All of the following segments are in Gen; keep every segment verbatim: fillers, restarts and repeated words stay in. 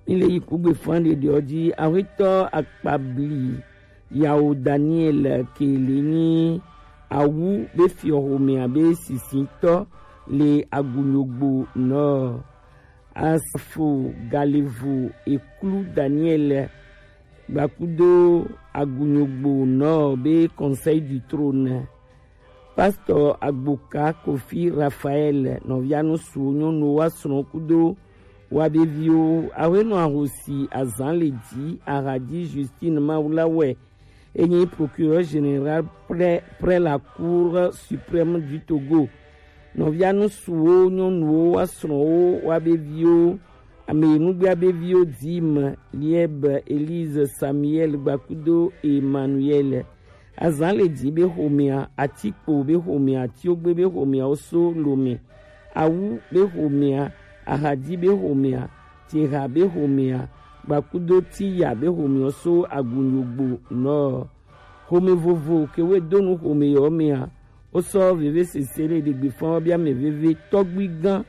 Mi le yi kugbe fan ɖeɖeɔ ji, Awetɔ Akpabli Yawo Daniel ke le nyi Awu be fiɔ xomɛa be sisintɔ le Agunyogbo nɔ. Asafo Galevo Eklu Daniel gbakudo Agunyogbo nɔ be Conseil du Trône. Pasteur Agboka Kofi Raphaël, nɔvianu suwo nyɔnuwo wa srɔ̃ kudo wa be viwo, Awenɔ Ahosi Azan le ji, Ahadi Justine Mawulawɛ, enyi procureur général près, près la Cour suprême du Togo. Nɔvianu suwo nyɔnuwo wa srɔ̃wo wa be viwo, ame yi nugbea be viwo dim, Lieb, Elise, Samuel gbakudo Emmanuel. Azan le ji be xomɛa, Atikpo be xomɛa, Atiogbe be xomɛa, Oso Lome, Awu be xomɛa, Ahadi be xomɛa, Teha be xomɛa, gbakudo Tiya be xomɛa, Oso Agunyogbo nɔ. Xome vovo ke we do nu xome yɔ mɛa, wosɔ veve sese le ɖegbe fɔn wɔ bia mɛ veve tɔgbi gan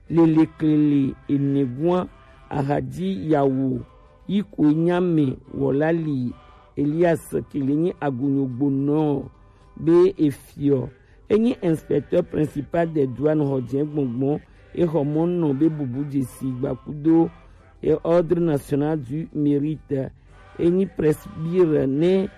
lele klele enegua, Ahadi Yawo yi ko nyame wɔlali Elias ke le nyi Agunyogbo nɔ be efiɔ. Enyi inspecteur principal des douanes xɔ jɛ gbɔngbɔn, exɔ mɔ nɔ be bubu jesi gbakudo e Ordre National du Mérite. Enyi presbyre ne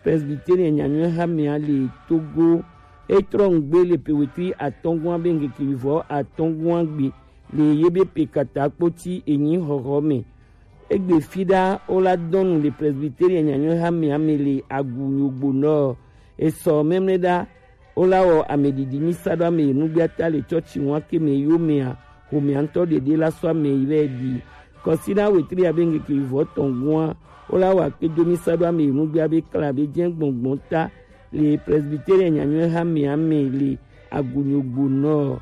Presbytérien nyanyɔe hamea le Togo. Etrɔ ŋgbe le pe wetri atɔngua be ŋkeke vivɔ atɔngua gbe le ye be pe kata kpoti enyi xɔxɔ me. Egbe fi ɖa wola dɔnu le Presbytérien nyanyɔe hamea me le Agunyogbo nɔ. Esɔ mɛmlɛ ɖa wola wɔ ameɖiɖi mi sa ɖo ame yi nugbea ta le tsɔtsi ŋua ke me yo mea, xomea ŋutɔ ɖeɖe la sɔ ame yi vɛ ɖi. Kɔsiɖa wetri abe ŋkeke vivɔ tɔngua wola wɔ akpedo mi sa ɖo ame yi nugbea be kla be jɛ gbɔngbɔn ta le Presbytérien nyanyɔe hamea me le Agunyogbo nɔ.